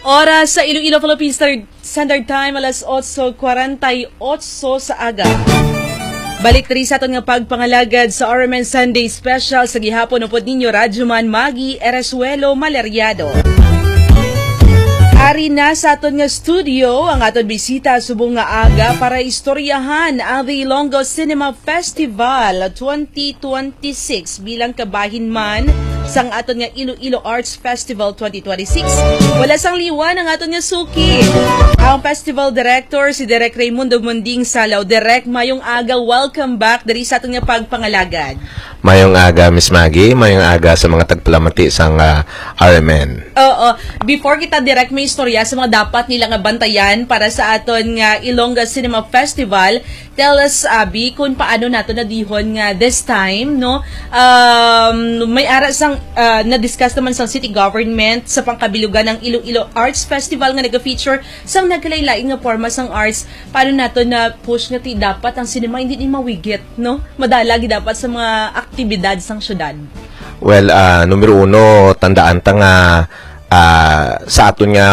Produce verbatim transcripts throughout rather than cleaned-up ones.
Oras sa Iloilo Philippine Standard, Standard Time, alas otso kwarenta y otso sa aga. Balik diri sa aton nga pagpangalagad sa R M N Sunday Special sa gihapon upod ninyo, Radyo Man Maggie Eresuelo Maleriado. Ari na sa aton nga studio ang aton bisita subong nga aga para istoryahan ang The Ilonggo Cinema Festival twenty twenty-six bilang kabahin man sang aton nga Iloilo Arts Festival twenty twenty-six. Wala sang liwan ang aton nga suki, ang Festival Director, si Direk Raymundo Munding Salaw. Direk, mayong aga. Welcome back diri sa aton nga pagpangalagad. Mayong aga, Miss Maggie. Mayong aga sa mga tagpalamati sang, ah, R M N. Oo. Before kita, Direk, may istorya sa mga dapat nila nga bantayan para sa aton nga Ilongga Cinema Festival. Tell us, Abby, kung paano nato nadihon nga this time, no? Um, may ara sang, ah, na-discuss naman sang city government sa pangkabilugan ng Iloilo Arts Festival nga naga-feature sang nagkalain-lain nga forma sang arts. Paano nato na-push nga ti dapat ang cinema hindi ni mawigit, no? Madala gid dapat sa mga aktibidad sang syudad. Well, ah, numero uno, tandaan ta nga, ah, sa aton nga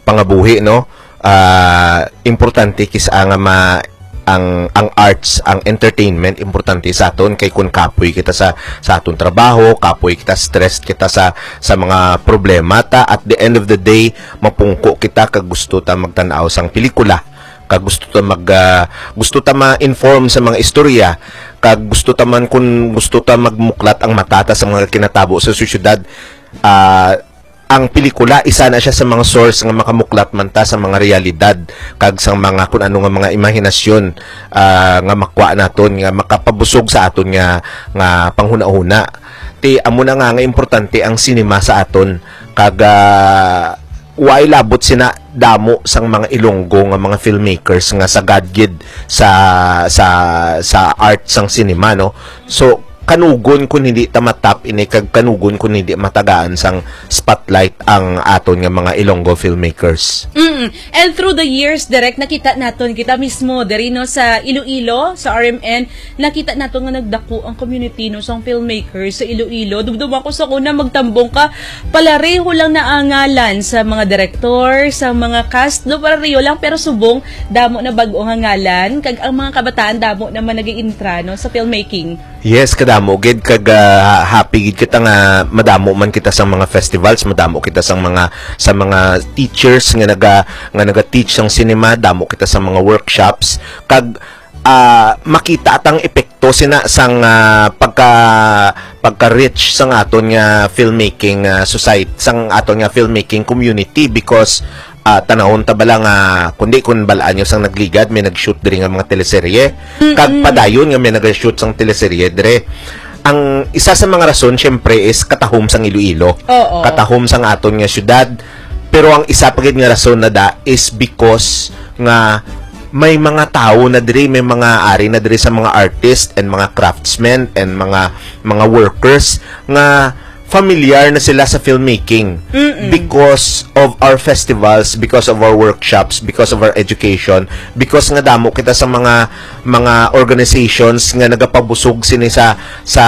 pangabuhi, no? Ah, importante kis-a nga ma-, ang, ang arts, ang entertainment, importante sa aton kay kung kapoy kita sa, sa aton trabaho, kapoy kita, stressed kita sa, sa mga problema ta, at the end of the day, mapungko kita kag gusto ta magtan-aw sang pelikula, kag gusto ta mag, ah, gusto ta ma-inform sa mga istorya, kag gusto ta man, kung gusto ta magmuklat ang mata ta sa mga kinatabo sa sosyedad, ah, ang pelikula, isa na siya sa mga source nga makamuklat man ta sa mga realidad kag sa mga kun ano nga mga imahinasyon, ah, nga makwa naton, nga makapabusog sa aton nga, nga panghunahuna. Ti amo na nga nga importante ang sinema sa aton, kag, ah, way labot sina damo sang mga Ilonggo nga mga filmmakers nga sagad gid sa, sa, sa art sang sinema, no? So, kanugon kun hindi ta matap ini, kag kanugon kun hindi matagaan sang spotlight ang aton nga mga Ilonggo filmmakers. Mm. And through the years, Direk, nakita naton kita mismo diri, no, sa Iloilo, sa R M N, nakita naton nga nagdako ang community, no, sang filmmakers sa Iloilo. Dumduma ko sa una, magtambong ka, palareho lang na ang ngalan sa mga direktor, sa mga cast, no, palareho lang, pero subong damo na bag-o nga ngalan, kag ang mga kabataan damo naman nag-iintra, no, sa filmmaking. Yes, kadamo gid, kag, ah, happy gid kita nga madamo man kita sa mga festivals, madamo kita sa mga, sa mga teachers nga naga, nga naga-teach sang cinema, damo kita sa mga workshops, kag, ah, makita tang epekto sina sang, ah, pagka, pagka-rich sang aton nga filmmaking, ah, society, sang aton nga filmmaking community, because, ah, tanawon ta bala nga, kundi kun balaan nyo sang nagligad, may nag-shoot diri nga mga teleserye. Mm-mm. Kag padayon nga may nag-shoot sang teleserye dire. Ang isa sa mga rason, syempre, is katahom sang Iloilo. Oo. Katahom sang aton nga syudad. Pero ang isa pa gid nga rason na da is because nga may mga tawo na diri, may mga ari na diri sa mga artist and mga craftsmen and mga, mga workers nga familiar na sila sa filmmaking. Mm-mm. Because of our festivals, because of our workshops, because of our education, because nga damo kita sa mga, mga organizations nga nagapabusog sini sa, sa,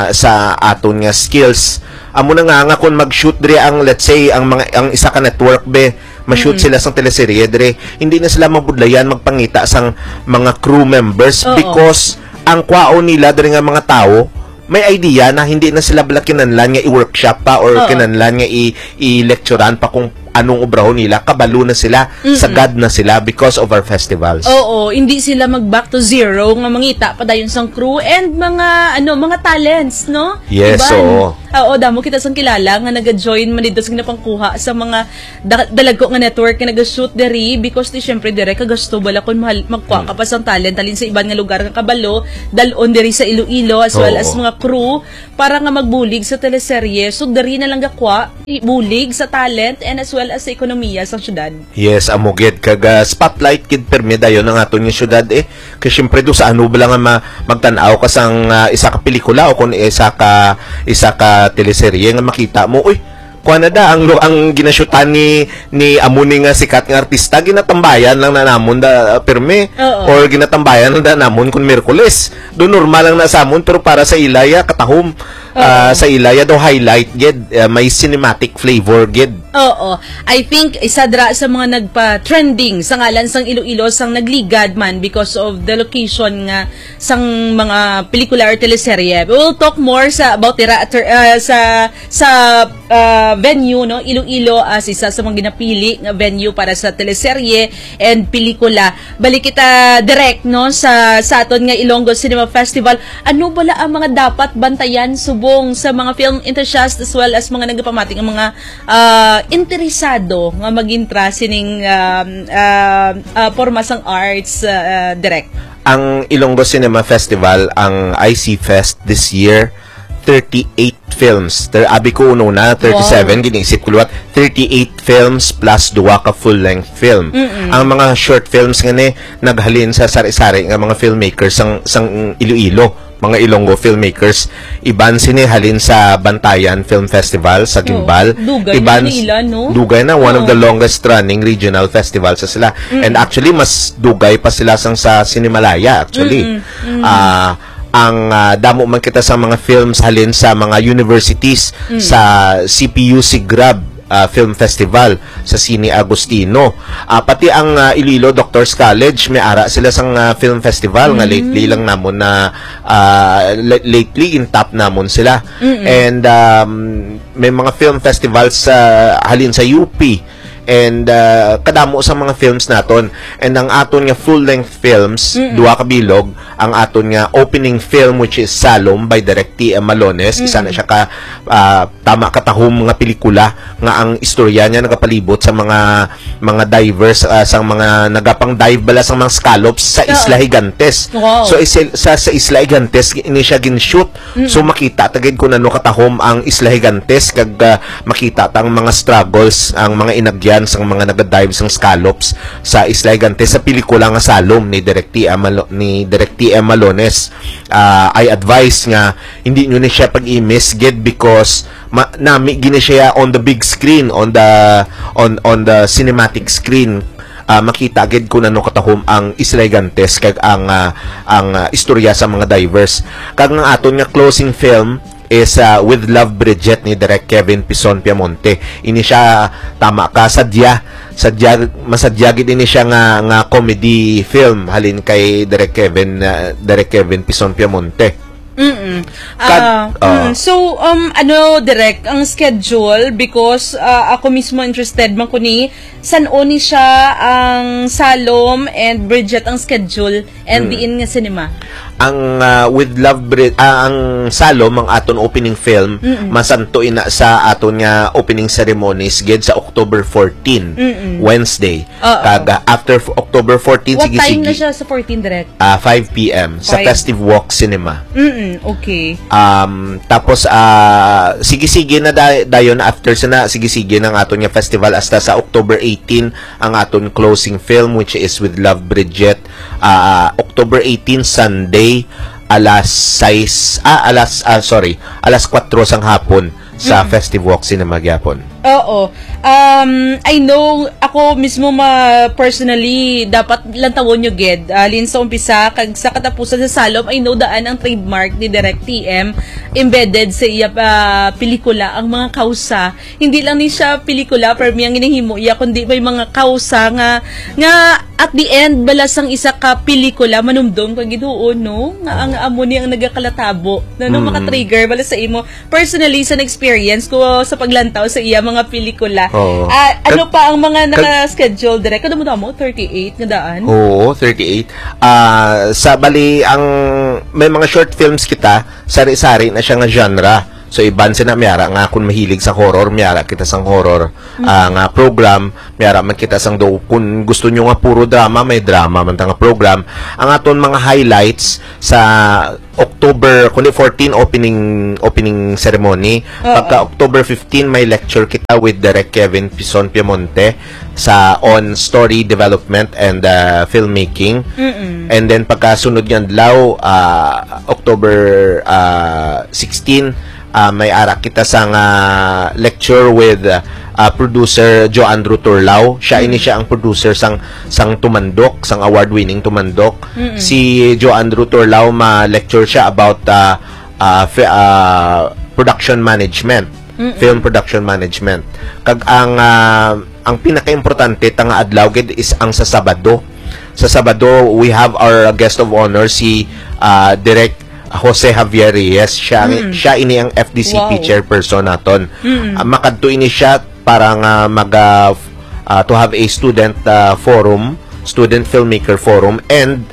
sa aton nga skills. Amo na nga, nga kung mag-shoot diri ang, let's say, ang mga, ang isa ka network be, ma-shoot Mm. sila sang teleserye diri, hindi na sila mabudlayan magpangita sang mga crew members Oo. because ang kwaon nila diri nga mga tawo may idea na hindi na sila bala kinahanglan nga i-workshop pa or Oo. kinahanglan nga i-, i-lecturean pa kung anong obrahon nila, kabalo na sila, Mm-mm. sagad na sila because of our festivals. Oo, hindi sila mag back to zero nga mangita pa dayon sang crew and mga, ano, mga talents, no? Yes, Iban. Oo. Oo, damo kita sang kilala nga naga-join man dito sa ginapangkuha sa mga da-, dalagko nga network nga naga-shoot diri because di syempre dire kagasto bala kung mahal, magkuha ka Mm. pa sang talent halin sa iban nga lugar nga kabalo, dal-on diri sa Iloilo as well Oo. as mga crew para nga magbulig sa teleserye. So, diri na lang gakwa, bulig sa talent and as well as sa ekonomiya sa syudad. Yes, amo gid. Kag, ah, spotlight gid permi dayon ang aton nga syudad, eh. Kay syempre, do sa ano ba lang nga ma-, magtan-aw ka sang, ah, isa ka pelikula o kung isa ka, isa ka teleserye nga makita mo, uy, kuha na da, ang lu-, ang ginasyutan ni, ni amo ni nga sikat nga artista, ginatambayan lang na namon da, ah, permi. Oo. Or ginatambayan lang da namon kung Miyerkules. Do normal lang na sa amon, pero para sa ila ya, katahom. Oo. Ah, sa ila ya daw highlight gid, ah, may cinematic flavor gid. Oo. I think isa dira sa mga nagpa-trending sa ngalan sang Iloilo sang nagligad man because of the location nga sang mga pelikula or teleserye. We will talk more sa about dira ter- ah, sa sa ah, venue, no, Iloilo as isa sa mga ginapili nga venue para sa teleserye and pelikula. Balik kita direct, no, sa sa aton nga Ilonggo Cinema Festival. Ano bala ang mga dapat bantayan subong sa mga film enthusiast as well as mga nagapamati nga mga ah, interesado nga magintra sining um, ah, ah, porma sang arts, ah, direct? Ang Ilonggo Cinema Festival, ang I C Fest this year, thirty-eight films. Ter abi ko uno na, thirty-seven, Wow. Giniisip ko liwat, thirty-eight films plus duwa ka full-length film. Mm-mm. Ang mga short films nga ni, naghalin sa sari-sari nga mga filmmakers sang, sang Iloilo, mga Ilonggo filmmakers. Iban sini halin sa Bantayan Film Festival sa Guimbal. Oo. Dugay Iban na nila, no? Dugay na, one of the Oo. longest running regional festival sa sila. And actually, mas dugay pa sila sang sa Cinemalaya, actually. Mm-mm. Ah, ang ah, damo man kita sa mga films halin sa mga universities, sa C P U C Grab ah, Film Festival sa Cine Agustino. Ah, pati ang ah, Iloilo Doctors College, may ara sila sang ah, film festival nga lately lang namon na ah, la- lately in top namon sila. And um, may mga film festivals sa halin sa U P. And ah, kadamo sa mga films naton. And ang aton nga full-length films, duha ka bilog, ang aton nga opening film, which is Salom by Direk T M Malones. Isa na siya ka ah, tama katahom nga pelikula nga ang istorya niya nagapalibot sa mga mga divers, ah, sa mga nagapang dive bala sa mga scallops sa Oo. Isla Gigantes. Wow. So isil, sa sa Isla Gigantes ini siya gin-shoot. So makita ta gid kung ano katahom ang Isla Gigantes kag ah, makita ta ang mga struggles, ang mga inagyan sang mga nagadive sang scallops sa Isla Gigantes sa pelikula nga Salom ni Direk T M Malo- ni Direk T M Malones. Ah, I advise nga hindi nyo ni siya pag-i-miss gid because ma- nami gini siya on the big screen, on the on on the cinematic screen. Ah, makita gid kung ano katahom ang Isla Gigantes kag ang ah, ang ah, istorya sa mga divers. Kag ang aton nga closing film is ah, With Love, Bridget ni Direk Kevin Pison Piamonte. Ini siya tama ka sadya sadya masadya gid ini siya nga nga comedy film halin kay Direk Kevin ah, Direk Kevin Pison Piamonte. Mm. Kad- Ah, ah. mm. So, um, ano, Direk, ang schedule? Because ah, ako mismo interested man ko ni san-o ni siya ang Salom and Bridget ang schedule and diin nga cinema? Ang ah, With Love Bri- ah, ang Salom, ang aton opening film, masanto ina sa aton nga opening ceremonies gid sa October fourteen, Wednesday. Oo. Kag ah, after f- October fourteen, What sige time sige. Na siya sa fourteen, Direk? Ah, five p m sa Five. Festive Walk Cinema. Mm, okay. Um, tapos ah sige-sige na day- dayon after sa na sige-sige ng aton nga festival hasta sa October eighteen ang aton closing film, which is With Love, Bridget. Ah, October eighteen, Sunday, alas sais, ah, alas, ah, sorry, alas kwatro sang hapon sa Festive Walk Cinema gyapon. Oo. Um, I know, ako mismo ma personally, dapat lantawon nyo gid. Alin sa umpisa, kag sa katapusan sa Salom, I know daan ang trademark ni Direk T M embedded sa iya pa pelikula, ang mga kausa. Hindi lang ni siya pelikula, pero ang ginahimo iya, kundi may mga kausa nga, nga at the end, bala sang isa ka pelikula, manumdom ka gid, oo, no? Nga ang amo ni ang nagakalatabo. No, no, maka-trigger, bala sa imo. Personally, sa experience ko sa paglantaw sa iya mga pelikula. Oo. Ah, ano Kag- pa ang mga kag- naka-schedule, Direk? Kadamo-damo, thirty-eight nga daan? Oo, thirty-eight. Ah, sa bali ang may mga short films kita, sari-sari na siya nga genre. So iban sina may ara nga kung mahilig sa horror, may ara kita sang horror ah, nga program, may ara man kita sang do kung gusto nyo nga puro drama, may drama man ta nga program. Ang aton mga highlights sa October kundi fourteen opening opening ceremony. Oo. Pagka October fifteen may lecture kita with Direk Kevin Pison Piemonte sa on story development and uh, filmmaking. Mm-mm. And then pagkasunod nga adlaw, ah, October ah, sixteen, ah, may ara kita sang ah, lecture with ah, producer Joe Andrew Turlao. Siya ini siya ang producer sang sang Tumandok, sang award-winning Tumandok. Mm-mm. Si Joe Andrew Turlao ma-lecture siya about ah, ah, fi- ah, production management. Mm-mm. Film production management. Kag ang, ah, ang pinakaimportante ta nga adlaw gid is ang sa Sabado. Sa Sabado, we have our guest of honor, si, ah, Direk Jose Javier Reyes. Siya, Mm. siya ini ang F D C P Wow. chairperson naton. Mm. Ah, makadto ini siya para nga mag, ah, f-, ah, to have a student, ah, forum, student filmmaker forum, and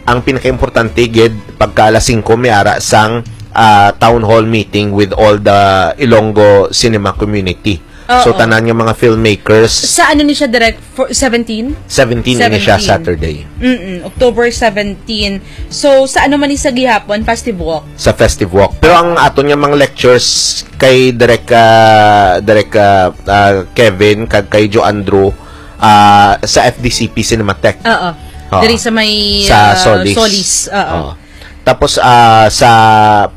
ang pinakaimportante gid, pagka alas singko may ara sang, ah, town hall meeting with all the Ilonggo cinema community. So, Oo. tanan nga mga filmmakers. Sa ano ni siya, Direk? For seventeen? Seventeen ini siya, Seventeen. Saturday. Mm-mm, October seventeen. So, sa ano man ni sa gihapon? Festive Walk? Sa Festive Walk. Pero ang aton nga mga lectures kay Direk, ah, Direk, ah, ah, Kevin, kag kay Joe Andrew, ah, sa F D C P Cinematech. Oo. Oo. Diri sa may, Sa ah, Solis. Solis. Oo. Oo. Tapos, ah, sa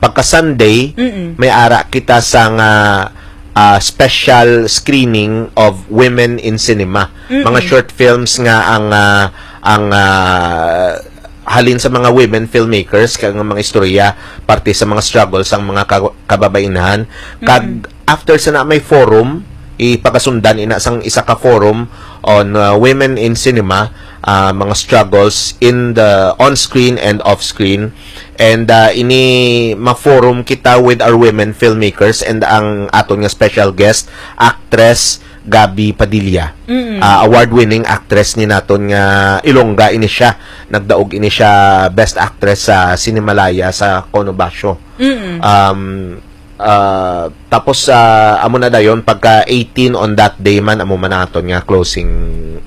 pagka-Sunday, Mm-mm. may ara kita sang, ah, ah, special screening of Women in Cinema. Mm-mm. Mga short films nga ang, ah, ang, ah, halin sa mga women filmmakers, kag mga istorya, parte sa mga struggles sang mga ka-, kababainhan. Kag Mm-mm. after sa na may forum, ipagasundan ina sang isa ka forum on, uh, women in cinema, uh, mga struggles in the on-screen and off-screen. And, uh, ini ma-forum kita with our women filmmakers and ang aton nga special guest, actress Gabby Padilla. Mm. Uh, award-winning actress ni naton nga Ilongga ini siya. Nagdaog ini siya best actress sa Cinemalaya sa Cono Basho. Mm. Um, Ah, tapos, ah, amo na dayon, pagka eighteen on that day man, amo man ang aton nga closing,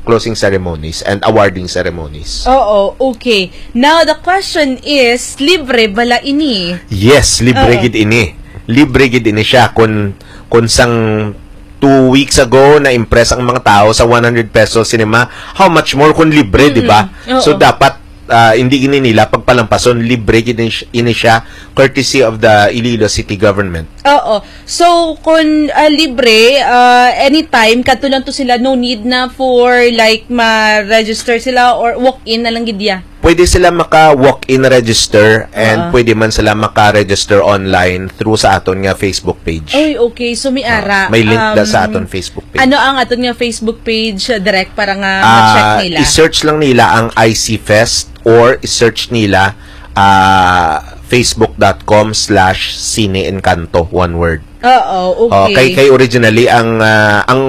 closing ceremonies and awarding ceremonies. Oo, okay. Now, the question is, libre bala ini? Yes, libre Oo. gid ini. Libre gid ini siya. Kung, kung sang two weeks ago, na-impress ang mga tao sa one hundred peso cinema, how much more kung libre, Mm-mm. di ba? Oo. So, dapat, ah, hindi gini nila pagpalampason, libre gid ini siya, courtesy of the Iloilo City Government. Oo. So, kung, ah, libre, ah, anytime, kadto lang to sila, no need na for, like, ma-register sila or walk-in na lang gid ya? Pwede sila maka-walk-in register and Oo. pwede man sila maka-register online through sa aton nga Facebook page. Ay, okay. So, may Ah, ara. may link na sa Um, aton Facebook page. Ano ang aton nga Facebook page, uh, direct para nga Ah, ma-check nila? I-search lang nila ang I C Fest or i-search nila, ah, facebook dot com slash Cine Encanto, one word. Oo, Oh, okay. kay, kay originally ang, ah, ang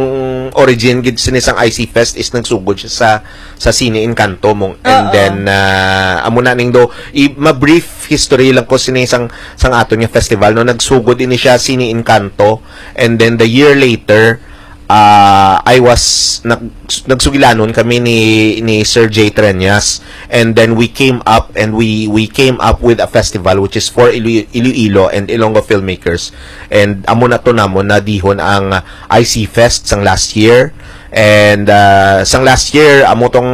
origin gid sini sang I C Fest is nagsugod siya sa, sa Cine Encanto mong, and Oo. then, ah, amo na ning do, i-, ma-brief history lang ko sini sang, sang aton nga festival, no? Nagsugod ini siya Cine Encanto, and then the year later, ah, I was, nag-, nagsugilanon kami ni, ni Sir Jay Treñas, and then we came up, and we, we came up with a festival which is for Iloilo, Iloilo and Ilonggo filmmakers, and amo na to namon na dihon ang I C Fest sang last year, and, ah, sang last year, amo tong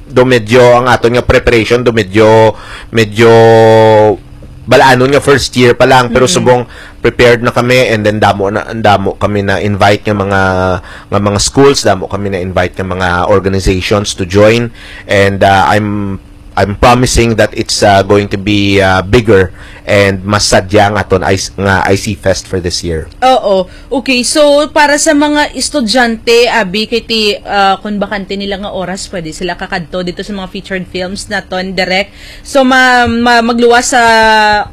do medyo ang aton nga preparation, do medyo, medyo balaanon nga first year pa lang, pero Mm. subong prepared na kami, and then damo na, damo kami na invite nga mga, nga mga schools, damo kami na invite nga mga organizations to join, and, ah, I'm, I'm promising that it's, ah, going to be, ah, bigger and mas sadya ang aton I C, nga I C Fest for this year. Oo. Okay, so para sa mga estudyante, abi, kay ti, ah, kung bakante nila nga oras, pwede sila kakadto dito sa mga featured films naton, direct. So, ma-, ma-, magluwas sa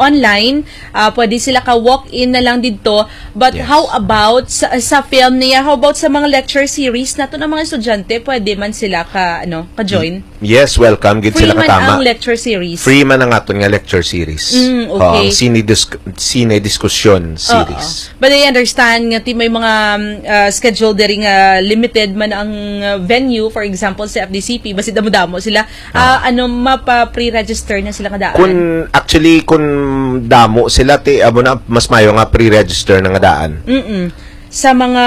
online, ah, pwede sila ka walk-in na lang dito. But Yes. how about sa, sa film niya? How about sa mga lecture series naton, ang mga estudyante, pwede man sila ka, ano, ka-join? Yes, welcome gid Free sila man katama. ang lecture series. Free man ang aton nga lecture series. Mm, okay. Oh, ang sine dis-, sine diskusyon Oo. series. But I understand nga ti may mga, um, uh, schedule diri nga limited man ang, uh, venue, for example, sa F D C P, basi damo-damo sila. Ah, Ah. ano, mapa-pre-register na sila nga daan? Kun, actually, kun damo sila, ti, amo na, mas mayo nga pre-register na nga daan. Mm-mm. Sa mga